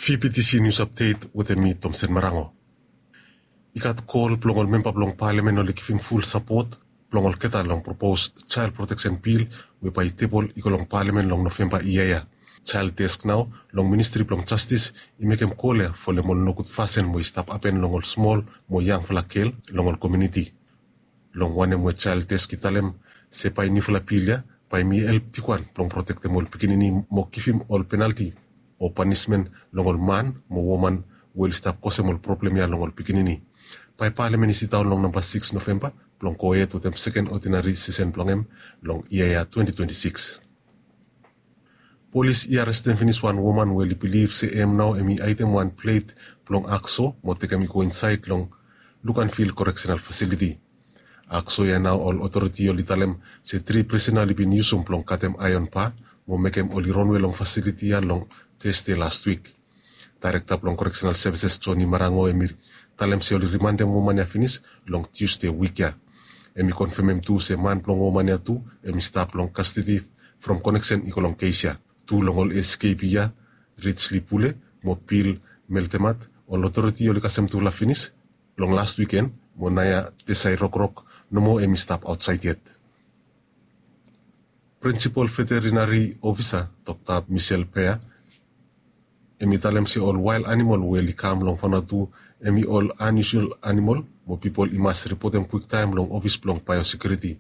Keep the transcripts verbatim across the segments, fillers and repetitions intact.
P P T C News Update wetem mi, Tomsen Marango. I gat kol blong ol memba blong palamen oli givim ful sapot blong olgeta long propos Child Protection Bill we bae i tebol i go long palamen long Novemba yia ya. Child Desk nao long Ministri blong Jastis i mekem kol ya folem ol nogud fasin we i stap hapen long ol smol mo yangfala gel long ol komuniti. Long wanem we Child Desk i talem se bae niufala bil ya bae i help bigwan blong protektem ol pikinini mo givim ol penalti o panismen long ol man mo woman we oli stap kosem ol problem ya long ol pikinini. Bae palamen i sidaon long namba sikis Novemba blong gohed wetem seken odinari sesen blong hem long yia ya twenti twenti sikis. Polis i arestem finis wan woman we oli bilif se hem nao hem i haedem wan plet blong hakso mo tekem i go insaed long Luganville Correctional Facility. Hakso ya nao ol otoriti oli talem se tri prisena oli bin yusum blong katem aeon ba mo mekem oli ronwe long fasiliti ya long Tasde las wik. Daerekta blong Correctional Services Johnny Marango hem i talem se oli rimandem woman ya finis long Tusde wik ya. Hem i konfemem tu se man blong woman ya tu hem i stap long kastedi from koneksen i go long kes ya. Tu long ol eskepi ya, Richly Pule mo Bill Meltemat, ol otoriti oli kasem tufala finis long las wiken mo naoia Tesai Rokrok nomo hem i stap aotsaed yet. Prinsipol Veterinari Ofisa Dokta Michel Pea hem i talem se ol wael animol we oli kam long Vanuatu hem i ol unusual animol mo pipol i mas ripotem kwiktaem long ofis blong Biosekuriti.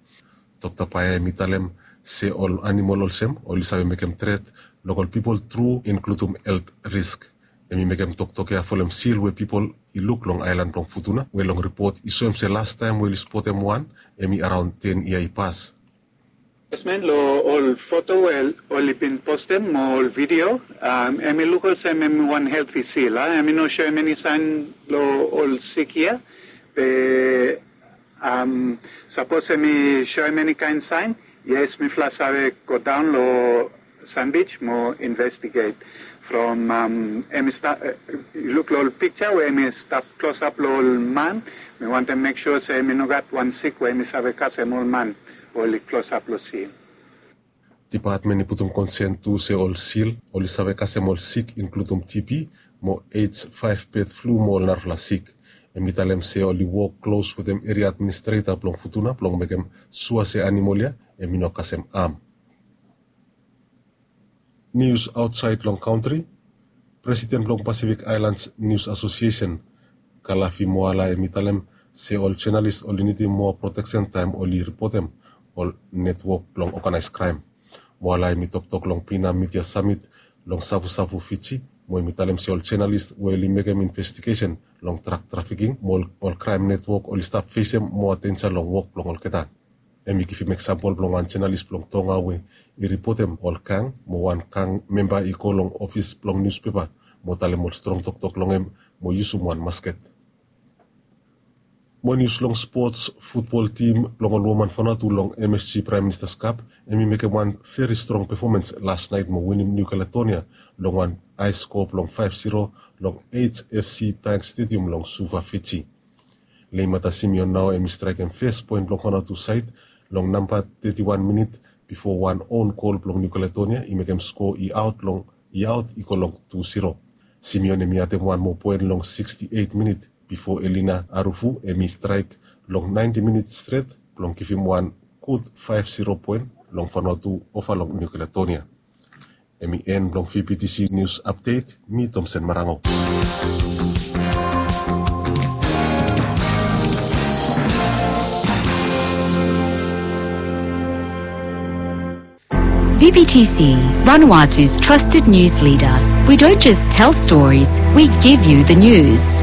Dokta Pea hem i talem se ol animol olsem oli save mekem tret long ol pipol tru, inkludum helt risk. Hem i mekem toktok ya folem sil we pipol i luk long aelan blong Futuna we long ripot i soem se lastaem we oli spotem wan hem i araon ten yia i pas. Yes, man, long ol foto we oli bin postem mo ol video, um, hem i luk olsem hem i wan helti sil, a? Hem i no soem eni saen long ol sik ya. Be, um, sapos hem i soem eni kaen saen, yes, mifala save godaon long Sandbij mo investiget. From, um, hem i sta-, eh, yu luk long ol pikja we hem i stap klosap long ol man, mi wantem mek sua se hem i no gat wan sik we hem i save kasem ol man we oli klosap long sil. Dipatmen i putum konsen tu se ol sil oli save kasem ol sik, inkludum T B mo AIDS, faef bed flu mo ol narafala sik. Hem i talem se oli wok klos wetem eria administreta blong Futuna blong mekem sua se animol ya hem i no kasem am. Nius aotsaed long kantri. Presiden blong Pacific Islands News Association, Kalafi Moala, hem i talem se ol jonalis oli nidim moa proteksen taem oli ripotem ol netwok blong oganaes kraem. Moala hem i toktok long Bina Midia Samit long Savusavu, Fiji, mo hem i talem se ol jonalis we oli mekem investigesen long drak trafiking mo ol, ol kraem netwok oli stap fesem moa denja long wok blong olgeta. Hem i givim eksampol blong wan jonalis blong Tonga we i ripotem ol gang mo wan gang memba i go long ofis blong niuspepa mo talem ol strong toktok long hem mo yusum wan masket. Mo nius long spots, futbol tim blong ol woman Vanuatu long M S G Prime Minister's Cup hem i mekem wan veri strong pefomens las naet mo winim New Caledonia long wan hae skoa blong faef ziro long H F C Bank Stadium long Suva, Fiji. Leimata Simeon nao hem i straekem fes poen blong Vanuatu saed long namba teti wan minit bifo wan own gol blong New Caledonia i mekem skoa i aot long, i aot i go long tu ziro. Simeon hem i adem wan moa poen long siksti eit minit bifo Elina Arufu hem i straek long naenti minit stret blong givim wan gud faef ziro poen long Vanuatu ova long New Caledonia. Hem i en blong V P T C News Update, mi Tomsen Marango. V P T C, Vanuatu's trusted news leader. We don't just tell stories, we give you the news.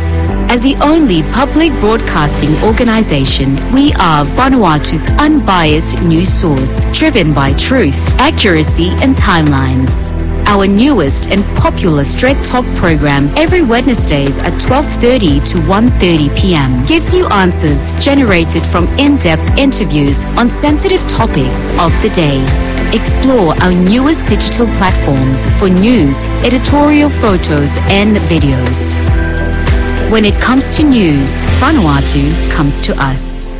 As the only public broadcasting organization, we are Vanuatu's unbiased news source, driven by truth, accuracy, and timelines. Our newest and popular Straight Talk program, every Wednesdays at twelve thirty to one thirty p m, gives you answers generated from in-depth interviews on sensitive topics of the day. Explore our newest digital platforms for news, editorial photos, and videos. When it comes to news, Vanuatu comes to us.